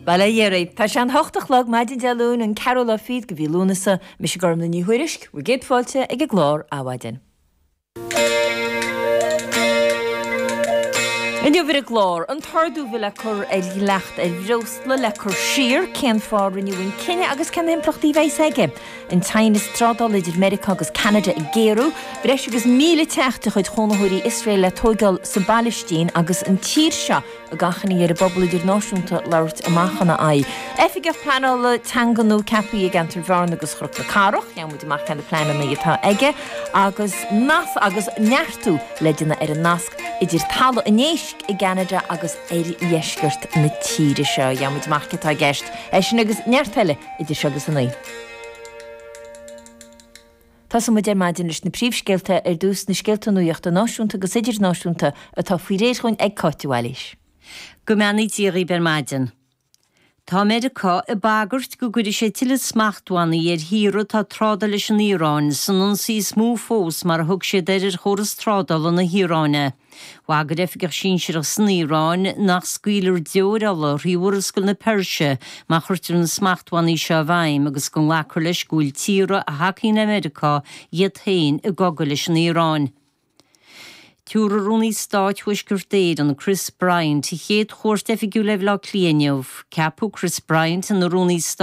Bail ó Dhia oraibh. Tá sé an hocht a chlog, maidin Dé Luain, an ceathrú lá fichead de mhí Lúnasa. Mise Gormlaith Ní Thuairisg, bhur gcéad fáilte ag an gclár Adhmhaidin. Inniu ar an gclár, an t-ardú a bhí le cur ar dhleacht ar bhreosla le cur siar, cén fáth a rinneadh an cinneadh agus cé na himpleachtaí a bheas aige? An teannas trádála idir Meiriceá agus Ceanada ag géarú, breis agus 1,000 teach de chuid chónaitheoirí Iosrael le tóigeáil sa bPailistín agus an tír seo ag achainí ar an bpobal idirnáisiúnta labhairt amach ina aghaidh. Oifigeach Pleanála Teanga nua ceaptha i gceantar Bhearna agus Chnoc na Cathrach, gheobhaidh muid amach cé na pleananna atá aige agus nas agus neartú le déanamh ar an nasc idir Talamh an Éisc i gCeanada agus oirdheisceart na tíre seo. Gheobhaidh muid amach cé atá i gceist. É sin agus neart eile idir seo agus a naoi. Tosóidh muid ar maidin leis na príomhscéalta ar dtús, na scéalta nuachta náisiúnta agus idirnáisiúnta atá faoi réir chugainn ag Cáit de Bhailís. Go mbeannaí Dia dhaoibh ar maidin. Tá Meiriceá ag bagairt go gcuirfidh sé tuilleadh smachtbhannaí ar thíortha atá ag trádáil leis an Iaráin, san ionsaí is mó fós mar a thug siad air ar chóras trádála na hIaráine. Bhagair oifigeach sinsearach san Iaráin nach scaoilfear deoir ola thrí Mhurascaill na Peirse má chuirtear na smachtbhannaí seo i bhfeidhm agus go nglacfar leis go bhfuil tíortha a thacaíonn le Meiriceá iad féin i gcogadh leis an Iaráin. Tabharfaidh Rúnaí Stáit Thuaisceart Éireann, Chris Bryant, a chéad chuairt oifigiúil ar Bhaile Átha Cliath inniu. Ceapadh Chris Bryant ina Rúnaí Stáit.